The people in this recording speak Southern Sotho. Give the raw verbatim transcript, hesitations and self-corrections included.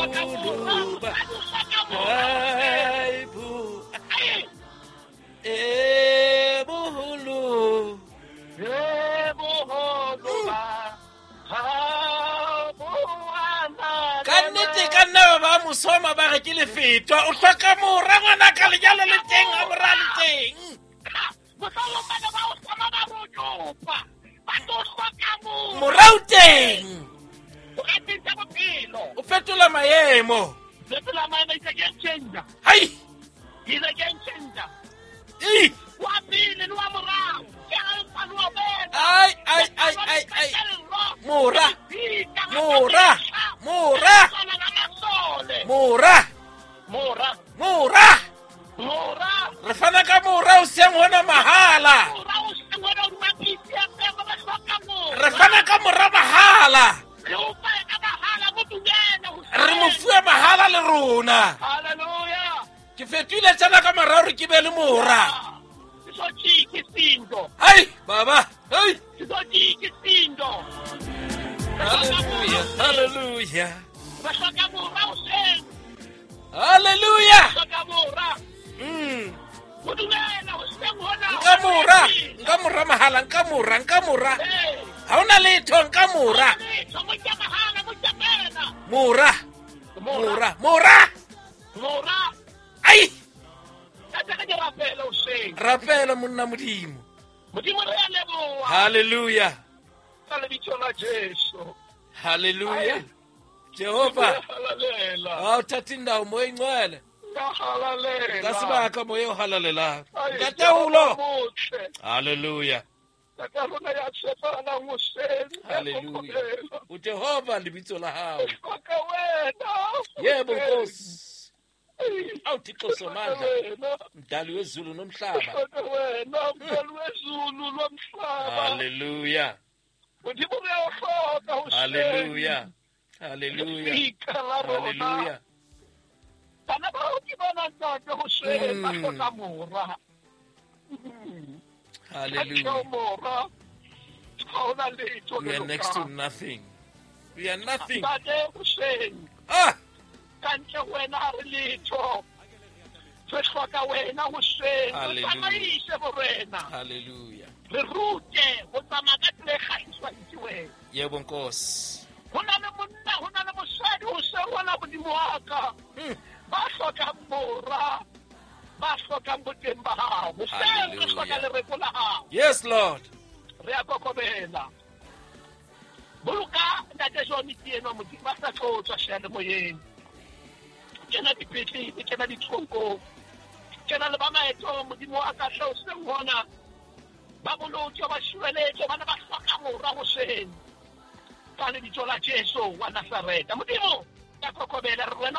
Boholo ba Ai bo E boholo E boholo ba Ha bo ana Ka nnete ka nna ba ba mosoma ba re ke lefetwa o hloka mora ngwana ka lenyalo le teng a mora le teng Mohlomong bana ba o soma ba mo tsopa ba tlo hloka mora mora o teng o ka tjhentjha bophelo o fetola maemo fetola maemo is a game changer hai is a game changer Ei wa pele le wa morao ke alfa le omega ai ai ai ai ai mora mora mora mora mora mora mora re fana ka mora o seng hona mahala mora o seng hona o mapitsi a pele ba hloka mora re fana ka mora mahala re o fa ka mahala mo dumela ho re mo fuwe mahala le rona haleluya ke fetoile tsena ka mora hore ke be le mora Sizojika isindo hai baba hai sizojika isindo haleluya haleluya re hloka mora o seng haleluya hloka mora mm mo dumela ho seng hona nka mora nka mora mahala nka mora nka mora ha ona letho nka mora mora mora mora mora ai ka tsaka ke rapela o seng rapela monna modimo modimo re a leboha haleluya ka lebitso la Jesu haleluya Jehova ha o thatha indawo moya ingcwele haleluya ka sebaka moya o halalelang ka taolo haleluya ka rona ya tshepahalang hoseng haleluya o Jehova lebitso la hao ka wena yebo Nkosi awu Thixo somandla mdali wezulu nomhlaba wena mdali wezulu lomhlaba haleluya modimo re a o hloka hoseng haleluya haleluya haleluya bana bao ke bona ntate hoseng ba hloka mora haleluya mora ha ona letho we are next to nothing we are nothing ntate hoseng ah ka ntle ho wena ha re letho re hloka wena hoseng re tsamaise borena haleluya re rute ho tsamaya ka tsela e kgahliswang ke wena yebo Nkosi ho na le monna ho na le mosadi hoseng hona modimo wa ka ba hlokang mora ba hlokang boteng ba hao hoseng re hloka lereko la hao yes Lord re a kokobela boloka ntate John ke enwa modimo ba sa tlo tswa seyalemoyeng kena dipetlele kena ditronkong kena le ba maetong modimo wa ka hle hoseng hona ba boloke ba tshireletse bana ba hloka mora hoseng ka lebitso la Jesu wa Nazareta modimo ka kokobela re wena